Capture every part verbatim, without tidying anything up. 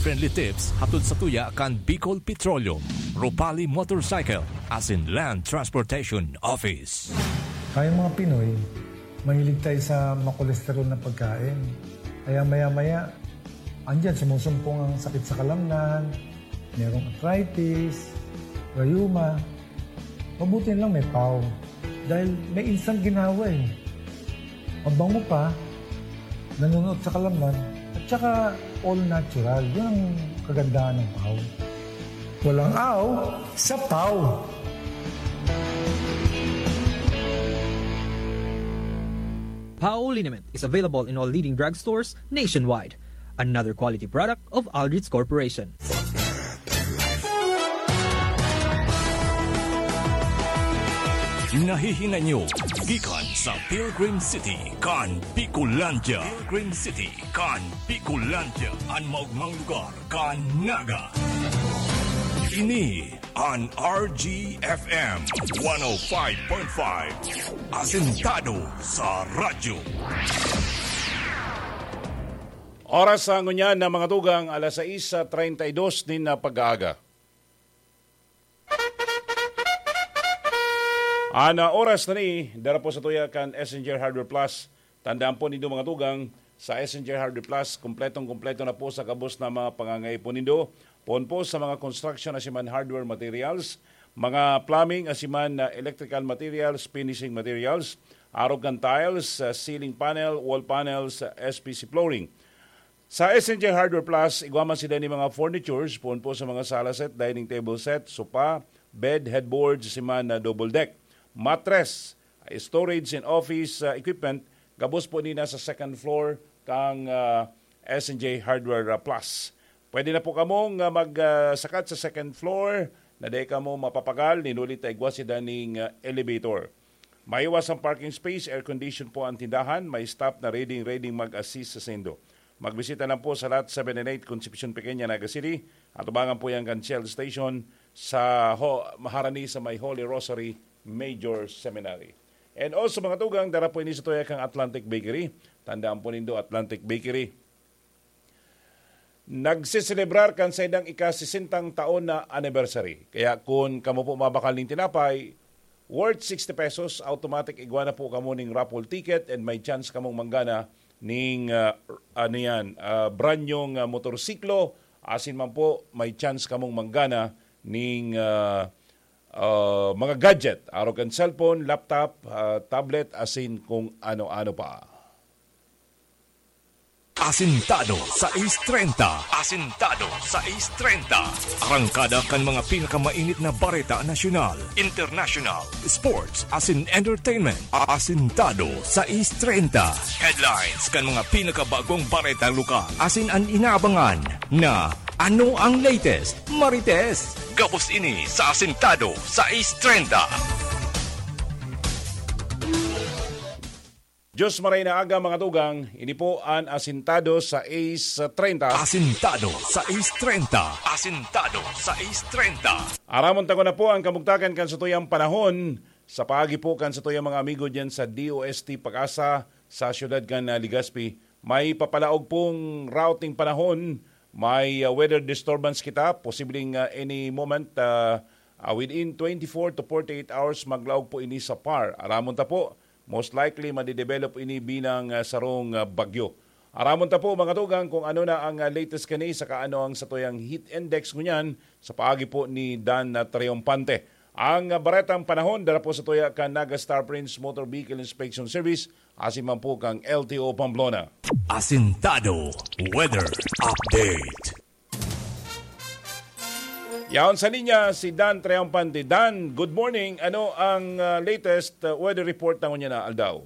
Friendly tips hatod sa tuya kan Bicol Petroleum, Ropali Motorcycle, asin Land Transportation Office. Tayong mga Pinoy, mahilig tayo sa makolesterol na pagkain. Kaya maya-maya, andyan sumusumpong ang sakit sa kalamnan, merong arthritis, rayuma. Mabuti lang may pau. Dahil may instant ginawa eh. Mabango pa, nanunuot sa kalamnan, at saka all natural. Yun ang kagandahan ng pau. Walang aw sa pau. Pau liniment is available in all leading drugstores nationwide. Another quality product of Aldrich Corporation. Nahihinay nyo gikan sa Pilgrim City kan Bicolandia. Pilgrim City kan Bicolandia, an maogmang lugar kan Naga. Ini an R G F M one oh five point five, asentado sa radyo. Oras sa ngunyan na mga tugang, alas sais treinta y dos nin pag-aaga. An oras na ni, dara po sa tuya kan S N J Hardware Plus. Tandaan po nindo mga tugang, sa S N J Hardware Plus, kompletong-kompleto na po sa gabos na mga pangangaipo nindo. Poon po sa mga construction asiman hardware materials, mga plumbing asiman na electrical materials, finishing materials, arog kan tiles, ah, ceiling panel, wall panels, ah, S P C flooring. Sa S N J Hardware Plus, igwa man sila ni mga furnitures, poon po sa mga sala set, dining table set, sopa, bed, headboard, siman na double deck, mattress, storage and office ah, equipment, gabos po nina sa second floor kang ah, S N J Hardware ah, Plus. Pwede na po kamong ah, magsakat sa second floor na dai kamo mapapagal, ninuli ta igwa sila ning ah, elevator. Maiwas ang parking space, air condition po ang tindahan, may staff na ready, ready mag-assist sa saindo. Magbisita lang po sa Lot seven and eight, Concepcion Pequeña, Naga City. Atubangan po yan kan Shell Station sa ho, maharani sa may Holy Rosary Major Seminary. And also, mga tugang, dara po ini sa tuya kang Atlantic Bakery. Tandaan po nindo, Atlantic Bakery. Nagseselebrar kan saindang ika-sesentang taon na anniversary. Kaya kun kamo po mabakal ning tinapay, worth sixty pesos, automatic igwa na po kamo ning raffle ticket and may chance kamong manggana ning, ah, ano yan, ah, brand nyong, ah, motorsiklo, asin man po may chance kamong manggana ning, ah, ah, mga gadget, arog kan cellphone, laptop, ah, tablet, asin kung ano-ano pa. Asintado sais treinta. Asintado sais treinta. Arangkada kan mga pinakamainit na bareta nasyonal, international, sports, asin entertainment. Asintado sais treinta. Headlines kan mga pinakabagong bareta lokal. Asin an inaabangan na ano ang latest, Marites? Gabos ini sa Asintado sais treinta. Diyos maray na aga, mga tugang. Ini po an Asintado sais treinta. Asintado sais treinta. Asintado sais treinta. Aramon ta ko na po ang kamugtakan kan satuyang panahon. Sa paagi po kan satuyang mga amigo diyan sa D O S T Pag-asa sa siyudad kan, ah, Legazpi, may papalaog pong routing panahon. May, ah, weather disturbance kita, posibleng, ah, any moment, ah, ah, within twenty-four to forty-eight hours, maglaog po ini sa par. Aramon ta po, most likely, madidevelop ini bilang, ah, sarong, ah, bagyo. Aramon ta po, mga tugang, kung ano na ang, ah, latest kani, saka ano ang satuyang heat index ngunyan sa paagi po ni Dan, ah, Triomphante. Ang, ah, baretang panahon, dara po sa tuya kan Naga Star Prince Motor Vehicle Inspection Service, asin man po kang L T O Pamplona. Asintado Weather Update. Yaon sa linya si Dan Triomphante. Dan, good morning. Ano ang, ah, latest, ah, weather report na ngunyan na aldaw?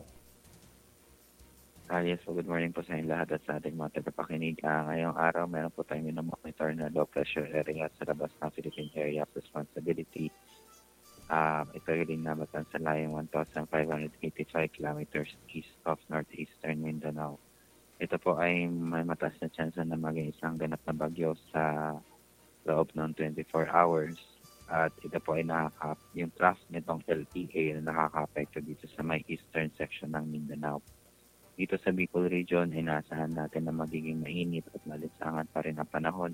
Ah, yes po, good morning po sa inyong lahat at sa ating mga tagapakinig. Ah, ngayong araw, meron po tayong minomonitor na low pressure area sa labas ng Philippine Area of Responsibility. Ah, ito yung linabatan sa layong one thousand five hundred eighty-five kilometers east of northeastern Mindanao. Ito po ay may mataas na tsansa na maging isang ganap na bagyo sa loob ng twenty-four hours. At ito po ay nakaka-, yung trough nitong L T A na nakakaapekto dito sa may eastern section ng Mindanao. Dito sa Bicol Region, inaasahan natin na magiging mainit at malinsangan pa rin ang panahon